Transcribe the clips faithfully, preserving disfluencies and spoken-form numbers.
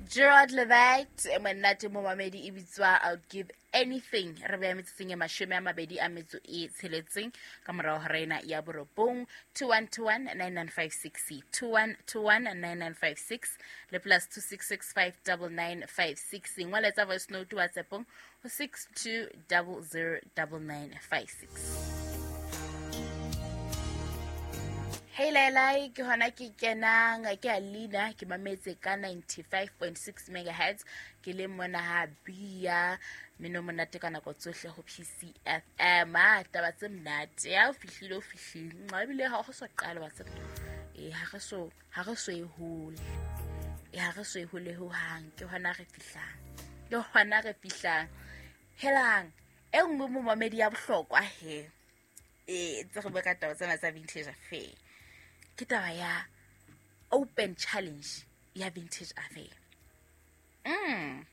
Gerard Levite monate momamedi e bitswa I'll Give Anything. Re beya metsotsong e mashome a mabedi a metso e tsheletseng ka morao ho rena ya borobong. Two one two one nine nine five six, two one two one nine nine five six le plus two six six five double nine five six. Ngwaletsa voice note WhatsAppong ho six two double zero double nine five six. Hey Lailai, ke hona ke kenang ke Alina, ke mametse ka ninety-five point six megahertz, ke le mona ha bia mino monate ka nako tsohle ho P C F M. Ah, taba tse monate ya o fihlile o fihlile nqa ebile ha go so qala wa tseba e ha re so ha re so e hole e ha re so e hole ho hang, ke hona re fihlang ke hona re fihlang helang e nngwe mo mamedi ya bohlokwa he e tse re bua ka taba tsena tsa vintage affair. Ke taba ya open challenge ya vintage affair. Mm.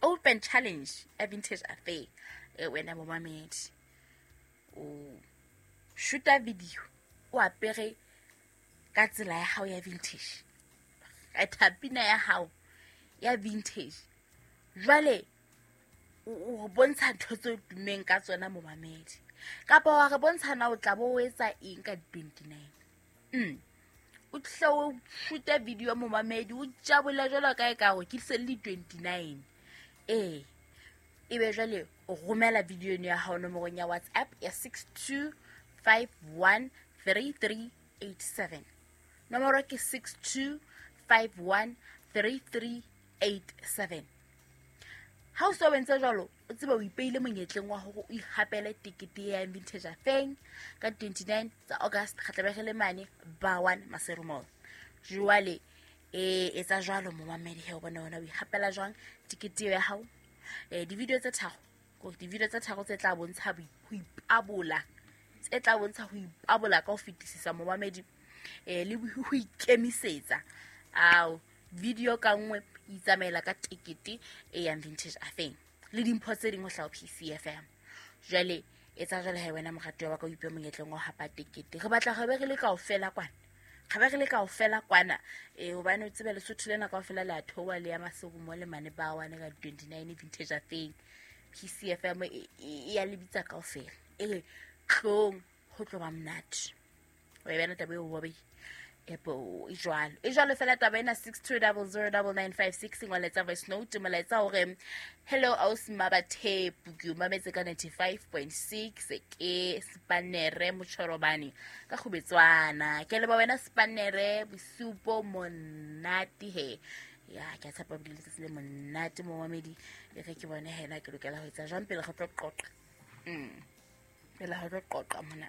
Open challenge ya vintage affair. E wena momamedi o shoota video o apere ka tsela ya hao ya vintage, ka thapina ya hao ya vintage. Jwale o bontsha ntho tse dumeng ka tsona momamedi, kapa wa re bontsha na o tla bo o etsa eng ka twenty-nine. Mm. O tle o shoota video momamedi o tjabola jwalo ka e ka hore ke se le twenty-nine. Eh ebe jwale o romela video eno ya hao nomorong ya WhatsApp ya six two five one three three eight seven. Nomoro ke six two five one three three eight seven. Ha o so entse jwalo, o tsebe o ipeile monyetleng wa hore o ihapele tikete ya vintage affair ka twenty-nine tsa August kgatlabege le mane ba one Maseru Mall. Jwale e etsa jwalo momamedi he o bona hona o ihapela jwang tikete ya hao. Eh di-video tse tharo, ko di-video tse tharo tse tla bontsha ho ipabola, tse tla bontsha ho ipabola ka ho fetisisa momamedi eh le ho ikemisetsa. Ao video ka nngwe itsamaela ka tikete e yang vintage affair le dimpho tse ding ho hlaha P C F M. Jwale etsa jwale ha wena moratuwa wa ka o ipe monyetleng wa hapa tikete. Re batla re be re le kaofela kwana, re be re le kaofela kwana eh hobane o tsebe Lesotho lena kaofela le a theoha le ya Maseru mo le mane ba wane ka twenty-nine vintage affair. P C F M e ya le bitsa kaofela e re tlong ho tlo ba monate. O e bana taba eo bobe epo e jwalo e jwalo fela taba ena six two zero zero nine nine five six ngwaletsa voice note molaetsa hore hello aus mabathepu ke mametse ka ninety-five point six ke Spanere Motshorobane ka Kgobetswana. Ke leba wena Spanere bosupo monate he ya ke tshepa bile letsatsi le monate momamedi e re ke bone hena ke lokela ho etsa jwang pele re tlo qoqa. Mm pele re tlo qoqa mona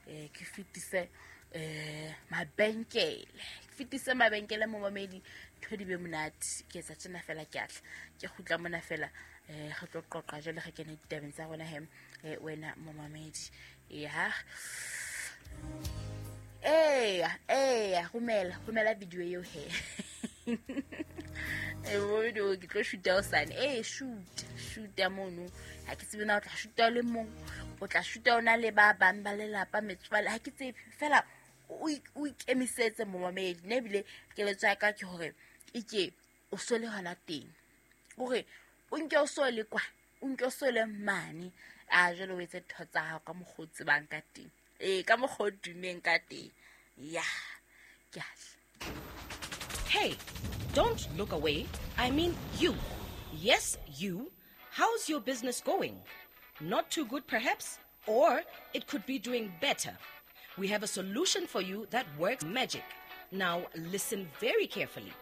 eh ke fitise eh mabenkele fitise mabenkele momamedi ntho di be monate ke etsa tjena fela ke atla ke kgutla mona fela eh re tlo qoqa jwale re kene ditabeng tsa rona he wena momamedi ya eh eh romela romela video eo he eh video ke tlo shoota o sane eh shoot shoot mono ha ke tsebe na o tla shoota le mong o tla shoota ona le ba bang ba lelapa metswale ha ke tsebe fela o ikemisetse momamedi ne ebile keletso ya ka ke hore ike o sole hona teng hore o nke o sole kwa o nke o sole mane a jwale o etse ntho tsa hao ka mokgwa o tsebang ka teng eh ka mokgwa o dumeng ka teng ya ke atla. Hey, don't look away. I mean you. Yes, you. How's your business going? Not too good, perhaps? Or it could be doing better. We have a solution for you that works magic. Now, listen very carefully.